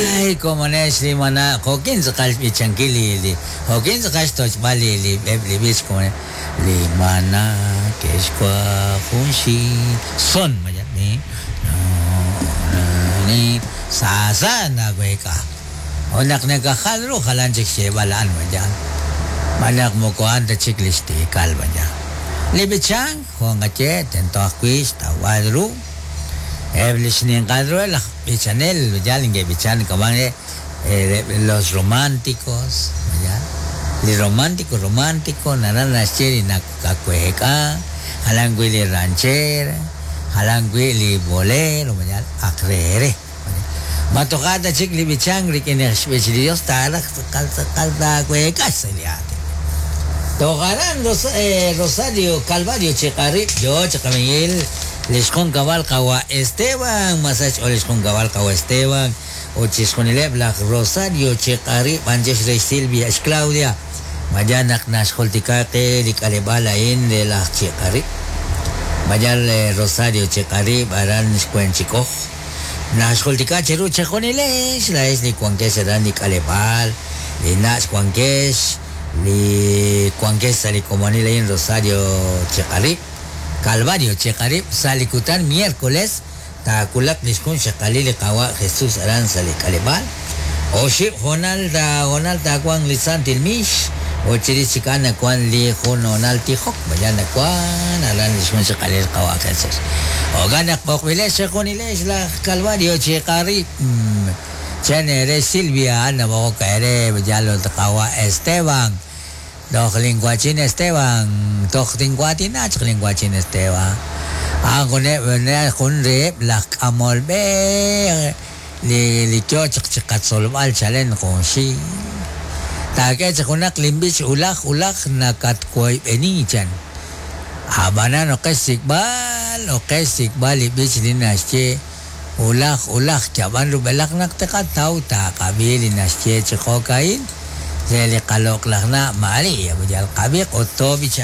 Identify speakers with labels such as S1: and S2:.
S1: Ay, komonex li mana, jo'kin tz'aqal xb'ichankil li li jo'kin tz'aqal xtoch'b'al li li eb' li b'ich komonex li mana ke'xwa' junxil son mayan ni ni sa sa naweek'a ut naq nakajal ru jalan chik xyeeb'al a'an mayan xb'aan naq moko a'an ta chik li xtiikal mayan li b'ichank jo' nqaye tento ajwi' xtawb'al ru eb' li xninqal ru laj b'ichanel yaal neke'b'ichan k'ab'an re los románticos yaal li romántico romántico naraj naxye li nakaweek'a jalan wi' li ranchera jalan wi' li bolero yaal ak re re ma toja' ta chik li b'ichank rik'in xb'ich li Dios taaraj tz'aqal tz'aqal taaweek'a sa' li aatin toj aran Rosario Calvario chiqarib' yo chiqamiil li xjunkab'al qawa' Esteban masach xch'ool li xjunkab'al qawa' Esteban ut chixjunileb' laj Rosario chiqarib' anchex re xSilvia xClaudia mayan naq naxjultika qe li k'aleb'aal a'in re laj chiqarib' mayan Rosario chiqarib' aran xwenchik'oj naxjultika cheru chejunilex laex li wankex aran li k'aleb'aal li nach' wankex li wankex sa' li komonil a'in Rosario chiqarib' Calvario chiqarib' sa' li kutan miércoles taawulaq li xjun xaqalil li qawa' Jesús aran sa' li k'aleb'aal oxib' honal ta honal taawanq li santil mix ut chirix chik a'an nawank li jun honal tijok mayan nawank aran li xjun xaqalil qawa' Jesús jo'kan naq b'oqb'ilex chejunilex laj Calvario chiqarib' chan ere Silvia a'an nab'oqok ere yal ut qawa' Esteban toj linwachin Esteban toj tinwaatina chaq linwachin Esteban a'an juneb' jun reheb' laj k'amol b'e li li yo chaq chiqatzolb'al chalen junxil taak'e chi junaq linb'ich ulaj ulaj nakatwoyb'eni chan ab'anan oqex xsik'b'al oqex xsik'b'al li b'ich li naxye ulaj ulaj yab'an rub'elaq naq tiqataw taaqab'i li naxye chi jo'ka'in re li qaloq'laj na' Maria yal qab'iq ut toob'icha.